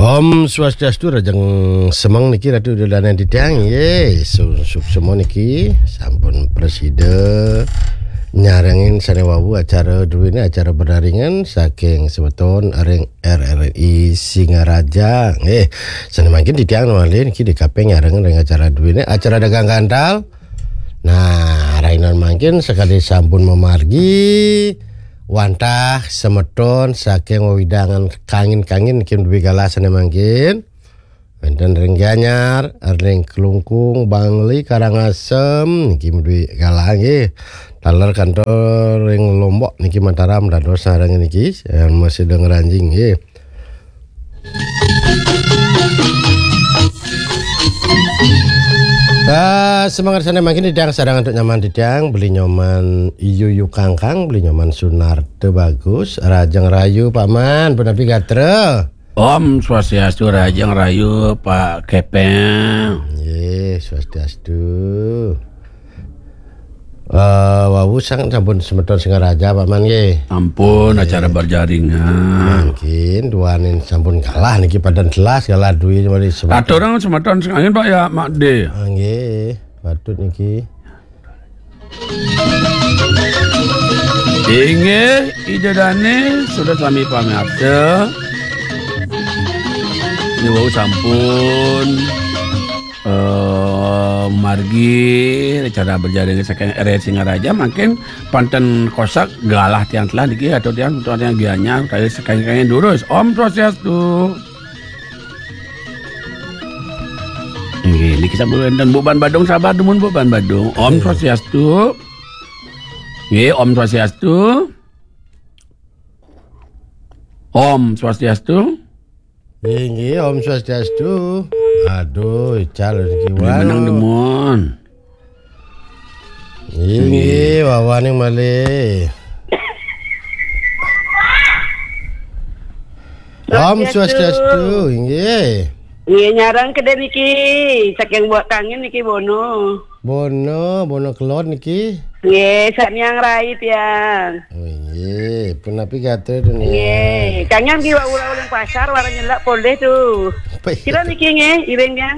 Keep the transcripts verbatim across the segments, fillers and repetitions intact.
Om Swastiastu, rahajeng semeng niki Ratu Ida Dané titiang, nggih, su-, suksma niki sampun prasida nyarengin sané wau acara duéné, acara bebarengan saking semeton ring R R I Singaraja, nggih. Sané mangkin titiang malih niki D K P nyarengin ring acara duéné, acara dagang gantal. Nah, rainan mangkin sakadi sampun mamargi wantah semeton saking wewidangan Kangin-Kangin niki duwé galah sané mangkin. Wénten ring Gianyar, ring Klungkung, Bangli, Karangasem niki duwé galah nggih. Taler kantos ring Lombok niki Mataram dados sareng niki, eh, masih ngranjing nggih. Ah, semangat sané mangkin titiang sareng antuk Nyoman titiang, Beli Nyoman Yuyu Kangkang, Beli Nyoman Sunarta Bagus, rahajeng rahayu Paman, punapi gatra. Om Swastiastu, rahajeng rahayu Pak Kepeng. Nggih, Swastiastu. Eh, wau sang sampun semeton Singaraja, Paman nggih. Ampun, acara berjaringan. Mangkin duaning sampun galah niki, padan telas galah duwé mari semeton. Aturang semeton sing angin, Pak, ya, Mak De. Ah, nggih, patut niki. Inggih, Ida Dané, sudah sami pamirsa. Ini wau sampun eh, margi acara berjaring saking R R I Singaraja, mangkin panten kosak galah tiang telah niki atau tiang, atau tiang Gianyar, kaya saking-saking durus. Om Swastiastu. Nggih, niki sampun wénten Bu Ban Badung, sabar dumun Bu Ban Badung. Om Swastiastu. Nggih, Om Swastiastu. Om Swastiastu. Inggih, Om Swastiastu. Aduh, ical niki. Beli menang demun. Inggih, wawaning malih. Om Swastiastu. Swastiastu, inggih. Nggih, nyarang kedé niki, saking Buak Kangin niki Bono. Bono, Bono Kelod niki. Nggih, samiang rai tiang. Oh, nggih, punapi gatra dunia. Nggih, kangen ki wau uling pasar, wara nyelak polih tu. Apa iya? Kira niki nggih, iring tiang.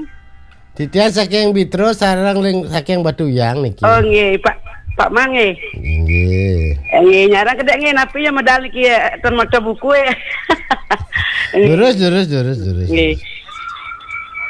Titiang saking Bitro, sareng ring saking Batuyang niki. Oh, nggih, Pak, Pak Mang nggih. Nggih. Eh, nggih, nyarang kedé nggih, napi ya medal niki ya, ten maca buku ya. Durus, durus, durus, durus. Nggih.